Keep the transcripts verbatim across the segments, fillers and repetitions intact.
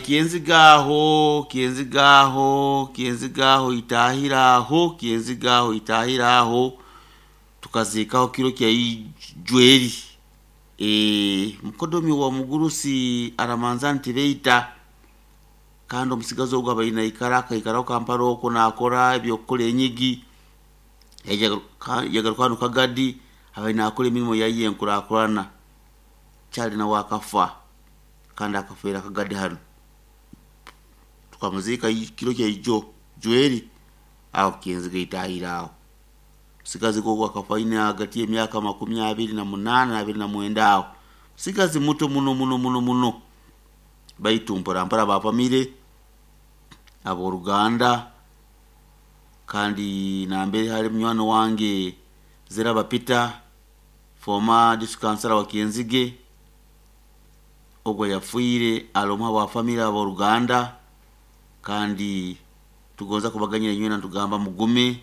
Kyenzigaho Kyenzigaho Kyenzigaho itahiraho Kyenzigaho itahiraho tukazikaho kiro kya ijweri e, mukodomi wa mugurusi aramanza ntibeita kandi omusigazi ogwo abaine aikara akaikaraho Kampala okwo nakora ebyokukora enyigi yagaruka hanu Kagadi abaine akora emirimo yaye enkurakurana kyali nawe akafa kandi akafeera Kagadi hanu tukamuzika kiro kya ijo jweri aho Kyenziga itahiraho musigazi gogo akafa ine hagati y'emyaka makumi abiri na munana abiri na mwenda aho musigazi muto muno muno muno muno baitu mpora mpora bafamire aboruganda kandi nambere hari munywani wange Ziraba Peter former district councilor wa Kyenzige ogwo yafuire alomwa wa famire aboruganda kandi tugonza kubaganyira nywena tugamba mugume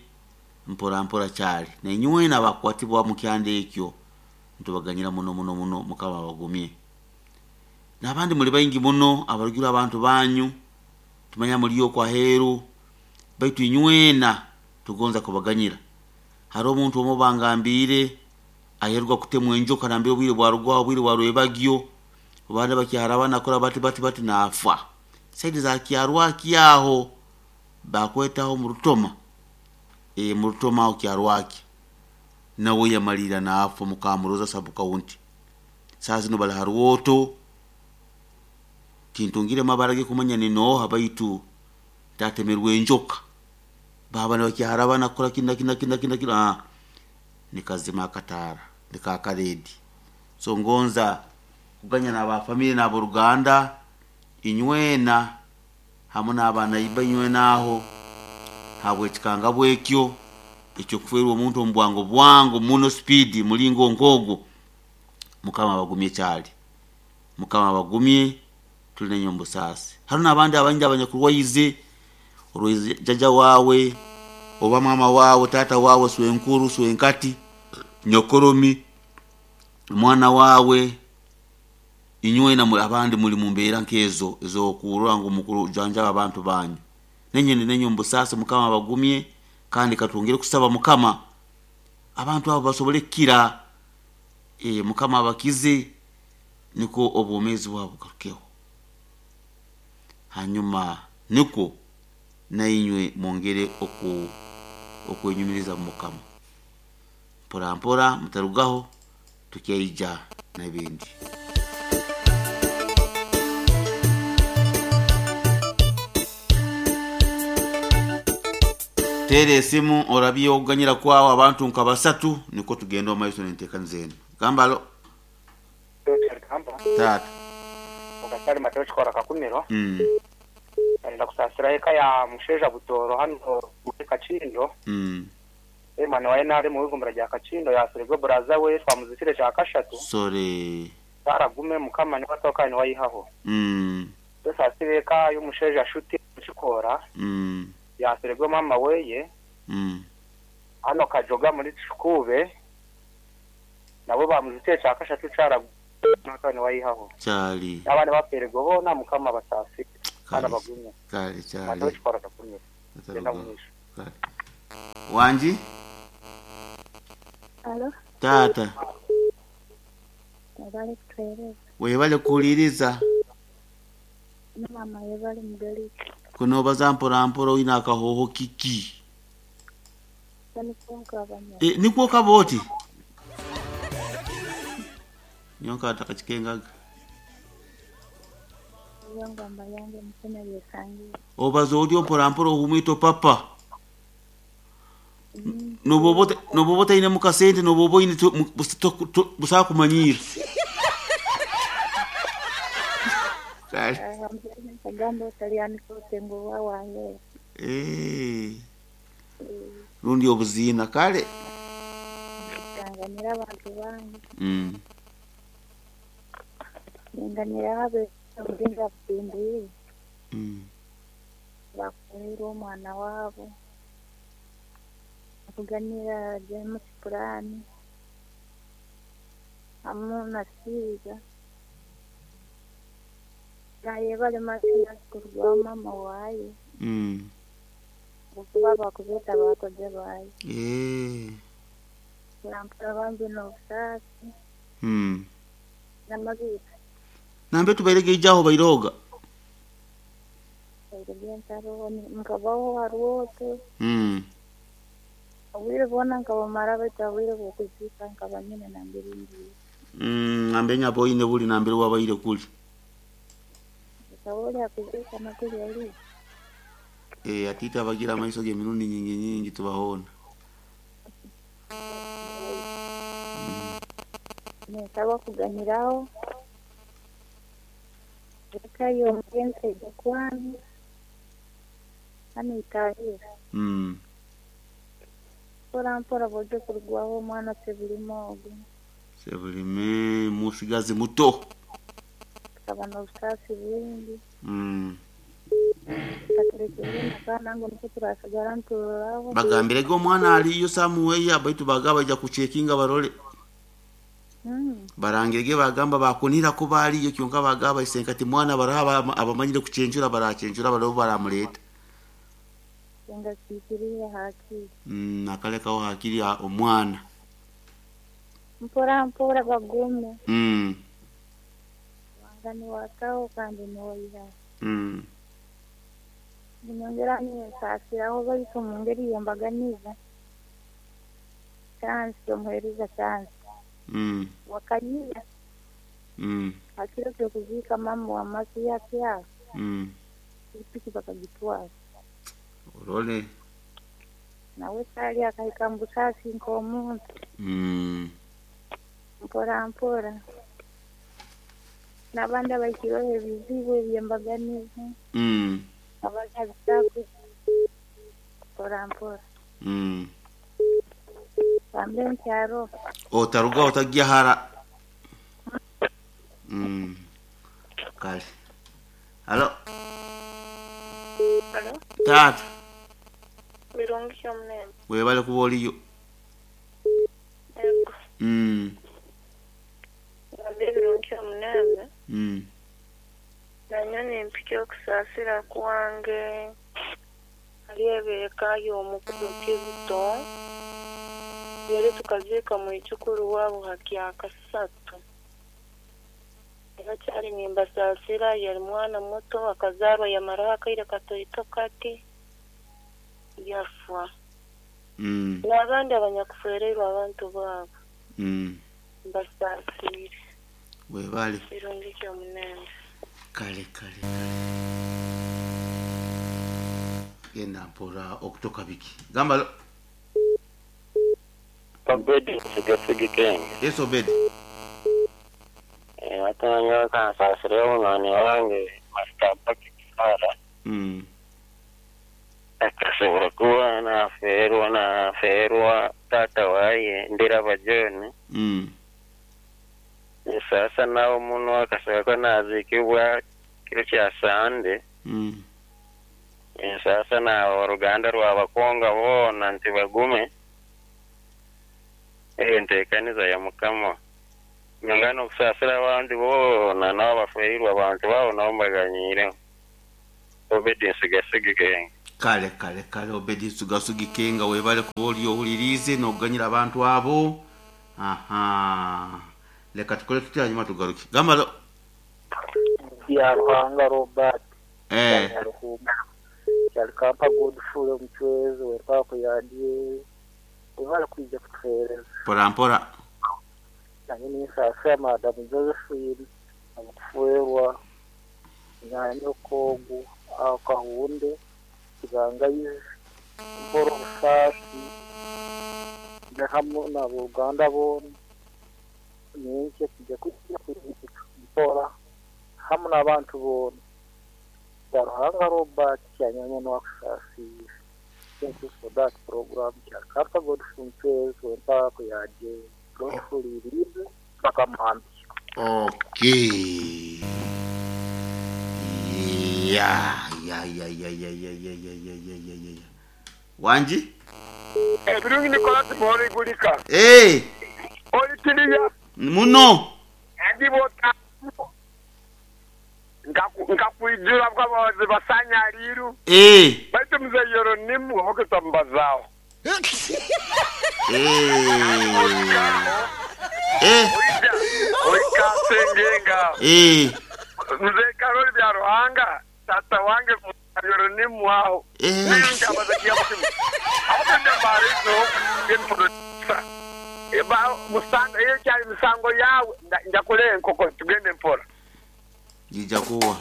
mpora mpora cyali na nywena bakwatibwa mu kyande ekyo ntubaganyira muno muno muno mukaba bagumye nabandi muri baingi muno abarugira abantu banyu tumanya muri yo kwa heru baitu nywena tugonza kubaganyira hari omuntu omo bangambire aherwa kutemwa enjoka nambire obwire bwarugwa obwire bwarwebagyo bana bakyara nakora bati bati bati nafa saidi za kyarwa kyaho bakwetaho mu rutoma e mu rutoma aho kyarwaki nawe yamalira nafa mukamuroza sabu county saa zino bali haruwoto kintungire mabarage kumanya ni noha baitu tatemerwe enjoka baba bakyara banakora kina kina kina kina kina ah nikazima akatara nikakaredi so ngonza kuganya n'aba family n'aboruganda inywena hamwe n'abaana iba inywena aho habwe ekikanga bwekyo ekyo kuferwa omuntu omu bwango bwango muno speed mulingo nkogo mukama abagumye kyali mukama abagumye tuli nenyo mbusasi haro n'abandi abandi abanyakurwaize orwaize jaja wawe oba mama wawe tata wawe swenkuru swenkati nyokoromi mwana wawe inywena abandi muri mu mbeera nkezo ezokurora ngu mukuru janjaba abantu banyu nenyene nenyo mbusasi mukama abagumye kandi katwongere kusaba mukama abantu abo basobole kira e, mukama abakize niko obwomezi bwabo bugarukeho hanyuma niko nainywe mwongere oku okwenyumiriza mu mukama mpora mpora mutarugaho tukyaija n'ebindi. Tere esimu orabye okuganyira kwawo abantu nka basatu niko tugenda omu maiso n'enteekaniza enu gamba alo tata okasali Mateo kikora kakumiro mm. Nenda kusasira eka ya musheja Butoro hano muri Kakindo mm. Emana waye nari mu bigumbura rya Kakindo yasirwe buraza we twamuzitire cya kashatu sore baragume mukama ni batoka ni wayihaho mm. Dusasire eka y'umusheja shuti kikora mm. yasirwe mama weye mm. hano Kajoga muri Kikube nabo bamuzitire cya kashatu cyaragume ni wayihaho cyali abana baperego bona mukama basasire kale bagumye kale cyali Mateo kikora kakumiro genda mwisho Kale. Wanji Alo, tata webale kutuweereza. webale kuwuliriza Ne mama yebale mugaliki. kunobaza mpora mpora oyina akahoho kiki Tanikunka abanya. e, nikwo kaba oti nyonka atakakikengaga Yongamba yange mukene byesangiye. obaza otyo mpora mpora ohumwito papa noboba noboba otaine mukasente noboba oine to- mu- busa- to- to- busa kumanyira Kale. Agamba otalyanika otengo wa wange. Eh, rundi obuziina kale Tanganira abantu bange. mm. Ninganira abe obuzinga butimbi Mm. bakureera omwana waabo. Kuganira James Purani hamu na Siiga. Nayebale Mathias kurugwa mama waye. Mm. Kuba bakubeta bakoze baye. Eh. Nampura bambi n'obusaasi Mm. n'amabiika. Nambe tubairege ijaho bairoga. Ebiro by'entaro nkabaho harwoto. Mm. Obwire bwona nkabamara baitu obwire bw'okuziika nkaba nyine nambere ngiire. Mm, nambe nyaboine buli nambere wabaire kuli. Nkaba oli akuziika nakuli oli. Eh, atita abagira amaiso g'emirundi nyingi nyingi tubahona. Ninsaba kuganyiraho. Eka y'omugenzi ejya kwanyu. Hanu itahira. Mm. Mpora mpora bwojja kurugwaho omwana Sebulime ogu. Sebulime musigazi muto. Tukaba n'obusaasi bwingi. Mm. Katurekere akaana ngu nikwo turasigara nituroraho. Bagambirege omwana aliyo samuweya baitu bagaba baija kuchekinga barole. Mm. Barangirege bagamba bakunira ko baliyo kyonka bagaba isenkati mwana baraha abamanyire kuchenjura barachenjura barabo baramuleta. Senga kiikirire hakiri. Mm, akalekaho hakiri omwana. Mpora mpora bagume. Mm. Wanga niwakaho kandi niwaihaho. Mm. Ninyongera ninsaasiraho baitu omu ngeri y'embaganiza. Chance omuheereza chance. Mm. Wakanyira. Mm. Hakiro ky'okuziika mama wa Mathias aho. Mm. Pikipiki bakagitwara. Orole. Nawe kyali akahika mu busaasi nk'omuntu. Mm. Mpora mpora. N'abandi abahikirweho ebizibu eby'embaganiza. Mm. Abanyabitaku. Mpora mpora. Mm. Bambe nkyaro. Otaruga otagya hara. Mm. Kale. Halo. Halo. Tata. Birungi omulembe. Webale kuba oliyo. Ego. Mm. Gambe birungi omulembe. Mm. Nanyo nimpika okusaasira kwange. Alyebeeka y'omukulu Kizito. Yali tukaziika mwijukuru waabo hakya kasatu. Era kyali nimbasaasira yali mwana muto akazaarwa yamaraho akaire katoito kati yafa. Mm. N'abandi abanyakufereirwe abantu baabo. Mm. Mbasaasire. Webale. Birungi ky'omulembe. Kale kale kale. Genda mpora okutoka biki. Gamba lo. Obedi sigasigi kenge. Yes Obedi. Eh atanga kansasireho mwana wange Master Patrick Sara. Mm. Akasobora kuba naferwa naferwa tata waye Ndiraba John. Mm. Sasa nawo muno akasobola kuba nazikibwa kiro kya Sande. Mm. Sasa naabo oruganda rw'abakonga boona nti bagume. Enteekaniza ya Mukama. Nyongana okusaasira abandi boona nabo baferirwe abantu baabo nabo mbaganyiireho. Obedi nsigasigi kenge. Kale kale kale Obedi nsigasigi kenga webale kuba oli owulirize n'okuganyira abantu abo. Aha. Leka tukole tutya hanyuma tugaruke. Gamba lo. Ya Ruhanga Robert. Eh. Kyali kampa Godfrey omucwezi wetwako yadye. Webale kwija kutuheereza. Mpora mpora. Nange ninsaasira Madam Josephine amukuferwa nyanyoko ogu akahunde kibangayizi mpora obusaasi hamwe n'aboruganda boona ninkye tujya kujya mpora hamwe n'abantu boona. Ya Ruhanga Robert kyanyanya n'okusaasira. Thank you for that program. Kyakapa Godfrey Mchwezi wempako yaje Godfrey Irize mpaka Muhambi. Okay. Yeah, yeah, yeah, yeah, yeah, yeah, yeah, yeah, yeah, yeah, yeah, yeah. Wanji? Eh, birungi Nicholas Mori Gulika. Eh. Oli tiliya. Muno. Andi bota. Nkakwijura bwabazi basanyaliru. Eh. Baitu mzee Yoronimu hokutambazaho. Eh. Eh. Oija oika sengenga. Eh. Mzee Karoli bya Ruhanga tata wange Yoronimu aho. Eh. Ninjabazakia mukimu. Aho ndambarizo ngenproducer. Eba musango iyo cyari musango yawe njakule enkoko tugende mpora. Nija kuwa.